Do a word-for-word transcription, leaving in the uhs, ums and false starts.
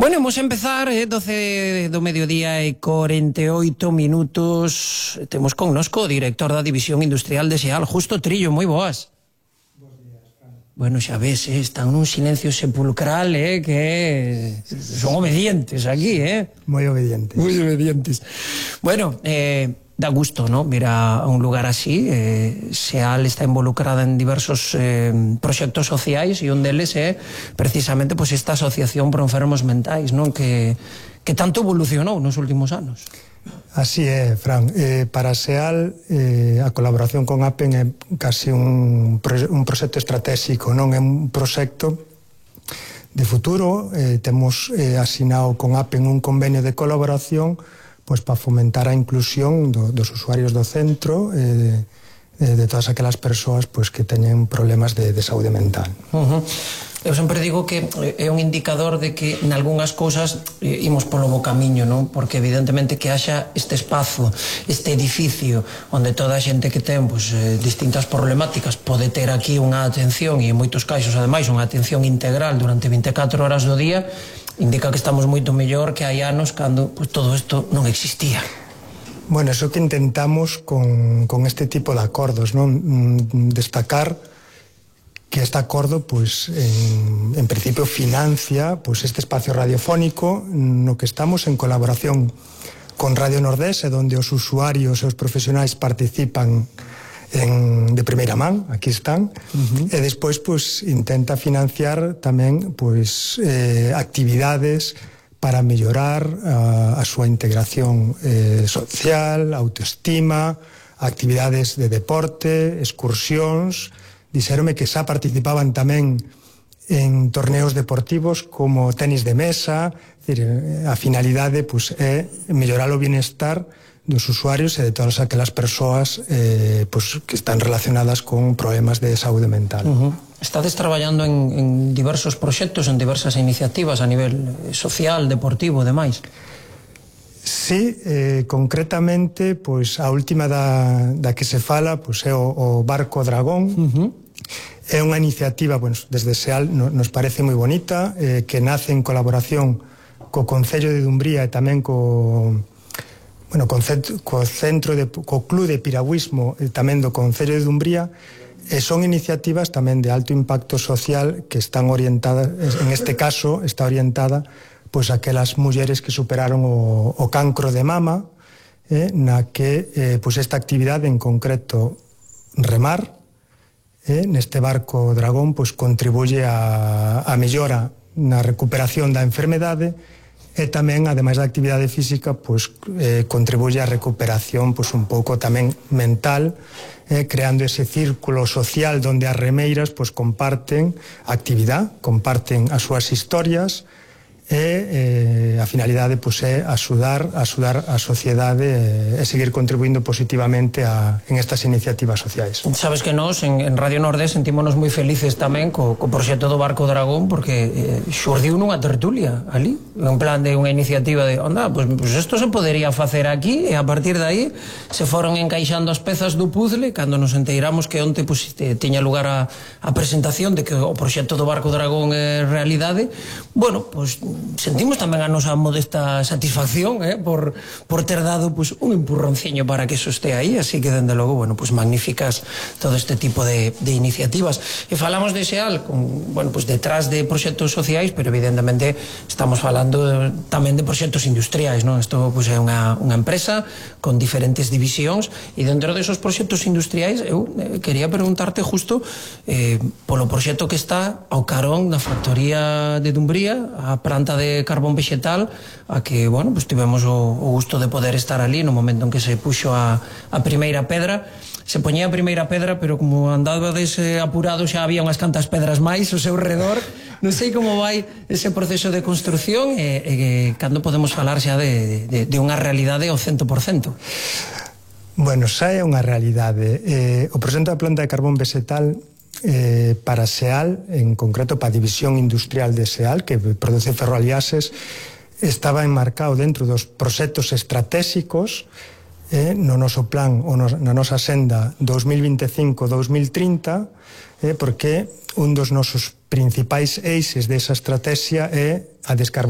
Bueno, vamos a empezar, eh, doce do mediodía e cuarenta y ocho minutos. Temos connosco o director da División Industrial de SEAL, Justo Trillo. Moi boas. Bos días, Fran. Bueno, xa ves, eh, están nun silencio sepulcral, eh, que son obedientes aquí, eh. Moi obedientes. Moi obedientes. Bueno, eh, da gusto, ¿no?, ver a un lugar así. eh, SEAL está involucrada en diversos eh, proxectos sociais e un deles é precisamente pues, esta asociación por enfermos mentais, non, que, que tanto evolucionou nos últimos anos. Así é, Fran. Eh, para SEAL, eh, a colaboración con APEN é casi un, un proxecto estratégico, non é un proxecto de futuro. Eh, temos eh, asinado con APEN un convenio de colaboración pois para fomentar a inclusión do, dos usuarios do centro, eh, de, de todas aquelas persoas pois, que teñen problemas de, de saúde mental. Uh-huh. Eu sempre digo que é un indicador de que nalgúnas cousas eh, imos polo bo camiño, non? Porque evidentemente que haxa este espazo, este edificio onde toda a xente que ten pues, eh, distintas problemáticas pode ter aquí unha atención, e en moitos casos ademais unha atención integral durante vinte e catro horas do día, indica que estamos moito mellor que hai anos cando pues, todo isto non existía. Bueno, eso que intentamos con, con este tipo de acordos, non? Destacar que este acordo, pues, en, en principio financia pues, este espacio radiofónico no que estamos en colaboración con Radio Nordés, donde os usuarios e os profesionais participan en, de primeira man, aquí están, uh-huh. E despois pues, intenta financiar tamén pues, eh, actividades para mellorar a, a súa integración eh, social, autoestima, actividades de deporte, excursións. Dixéronme que xa participaban tamén en torneos deportivos como tenis de mesa. Decir, a finalidade pues, é mellorar o bienestar dos usuarios e de todas aquelas persoas eh, pues, que están relacionadas con problemas de saúde mental. Uh-huh. Estades traballando en, en diversos proxectos, en diversas iniciativas a nivel social, deportivo, demais? Sí, eh, concretamente, pois, a última da, da que se fala pois, é o, o Barco Dragón. Uh-huh. É unha iniciativa, bueno, desde SEAL no, nos parece moi bonita, eh, que nace en colaboración co Concello de Dumbría e tamén co, bueno, co, co Centro de, co Club de Piragüismo e tamén do Concello de Dumbría. E son iniciativas tamén de alto impacto social que están orientadas, en este caso está orientada pois aquelas mulleres que superaron o, o cancro de mama, eh, na que eh, pois esta actividade en concreto remar eh, neste barco dragón pois contribuye a, a mellora na recuperación da enfermedade e tamén, ademais da actividade física, pois eh, contribuye á recuperación pois un pouco tamén mental, eh, creando ese círculo social onde as remeiras pois comparten a actividade, comparten as súas historias, e eh, a finalidade pues, é axudar, axudar a sociedade e, e seguir contribuindo positivamente a, en estas iniciativas sociais. Sabes que nós en, en Radio Nordés sentímonos moi felices tamén co, co proxecto do Barco Dragón, porque eh, xurdiu nunha tertulia ali, en plan de unha iniciativa de onda, pues, pues isto se podería facer aquí, e a partir de aí se foron encaixando as pezas do puzzle. Cando nos enteiramos que onte pues, te, tiña lugar a, a presentación de que o proxecto do Barco Dragón é realidade, bueno, pues sentimos tamén a nosa modesta satisfacción eh, por, por ter dado pues, un empurronciño para que eso esté aí, así que dende logo, bueno, pues magníficas todo este tipo de, de iniciativas. E falamos de SEAL con, bueno, pues detrás de proxectos sociais, pero evidentemente estamos falando tamén de proxectos industriais, non? Isto pues, é unha, unha empresa con diferentes divisións, e dentro desos proxectos industriais eu eh, quería preguntarte justo eh, polo proxecto que está ao carón da factoría de Dumbría, a planta de carbón vegetal, a que, bueno, pues tivemos o, o gusto de poder estar ali no momento en que se puxo a, a primeira pedra. Se poñía a primeira pedra, pero como andabades eh, apurado xa había unhas cantas pedras máis ao seu redor. Non sei como vai ese proceso de construcción e, e cando podemos falar xa de, de, de unha realidade ao cento por cento. Bueno, xa é unha realidade. Eh, o proxecto da planta de carbón vegetal Eh, para SEAL, en concreto para a División Industrial de SEAL, que produce ferroaliases, estaba enmarcado dentro dos proxectos estratégicos eh, no noso plan ou na nosa senda dos mil vinte e cinco a dos mil trinta, eh, porque un dos nosos principais eixes desa estrategia é a descarbonización